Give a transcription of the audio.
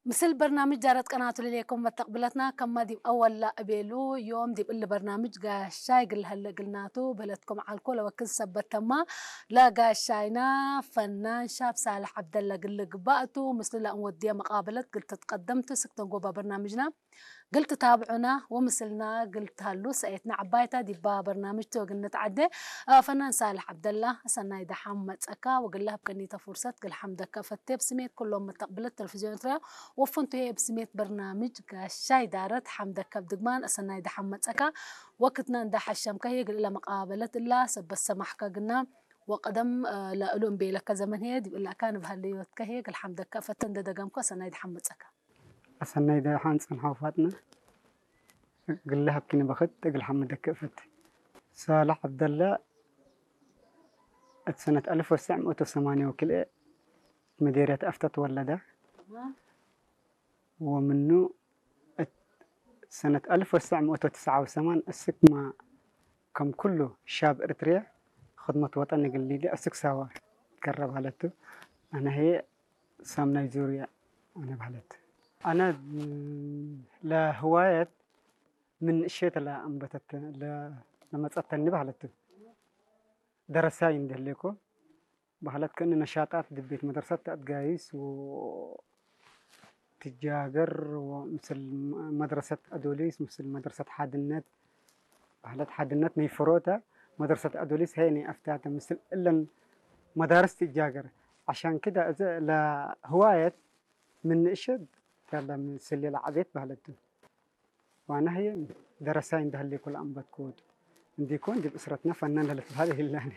ምስል በርናምጅ ዳረት ቀናቱ ልሌኩም መተቅብለትና ከማ ዲብ አወላ እቤሉ ዮም ዲብ እሊ በርናምጅ ጋሻይ ግልሀለ እግልናቱ ብህለትኩም ዓልኮ ለወክን ሰበት ተማ ለጋሻይና ፈናን ሻብ ሳልሕ ዐብደላ ግል ግባእቱ ምስሉ ለእንወድየ መቃበለት ግል ትትቀደምቱ ስክተን ጎባ በርናምጅና ግል ትታብዑና ወምስልና ግል ትሃሉ ሰኤትና ዐባይታ ዲባ በርናምጅ ተወግነት ዐደ ፈናን ሳልሕ ዐብደላ ሰናይ ደሓም መጸካ ወግለ ህብቀኒተ ፉርሰት ግል ሐምደካ ፈቴ ብስሜት ኩሎም መተቅብለት ተለቪዝዮን ኤርትራ ወፍንቱ ህየ ብስሜት በርናምጅ ጋሻይ ዳረት ሐምደካ ብድግማን አሰናይ ደሓም መጸካ ወክትና እንዳ ሐሸምካ ህየ ግል እለ መቃበለት እላ ሰበት ሰማሕካ ግና ወቀደም ለእሉ እምቤለካ ዘመን ህየ ዲብ እላካ ንባህል ህይወትካ ህየ ግል ሐምደካ ፈተ እንደ ደገምኮ አሰናይ ደሓም መጸካ። አሰናይ ደሓን ጽንሓው ፋጥነ እግል ለሀብኪኒ በኽት እግል ሐምደክ እፈት። ሳልሕ ዐብደላ እት ሰነት አልፍ ወትሰዕ ምእት ወሰማንያ ወክልኤ መዴርየት አፍተ ተወለደ። ወምኑ እት ሰነት አልፍ ወትሰዕ ምእት ወትስዓ ወሰማን እስክ ማ ከም ኩሉ ሻብ እርትርየ ኽድመት ወጠን እግል ሊደ እስክ ሳዋ ከረ ባለቱ። አነ ህየ ሳምናይ ዙርያ አነ ባለት። አነ ለህዋየት ምን እሸት ለአንበተት ለመጸተኒ ባህለት ደረሳይ እንደህሌኮ ባህለት ከእነ ነሻጣት ድቤት መድረሰት አድጋይስ ትጃገር ምስል መድረሰት አዶሊስ ምስል መድረሰት ሓድነት ባህለት ሓድነት ናይ ፍሮተ መድረሰት አዶሊስ ሀይ ናይ አፍታተ ምስል እለን መዳርስ ትጃገር። عشان كده እዚ ለህዋየት ምን እሸት ያለ ምስል ለዓቤት ባህለቱ ዋና ህየ ደረሳይ እንደህሌ ኩል አንበት ኮድ እንዲኮን ዲብ እስረትና ፈናን ለልትባል ይላኒ።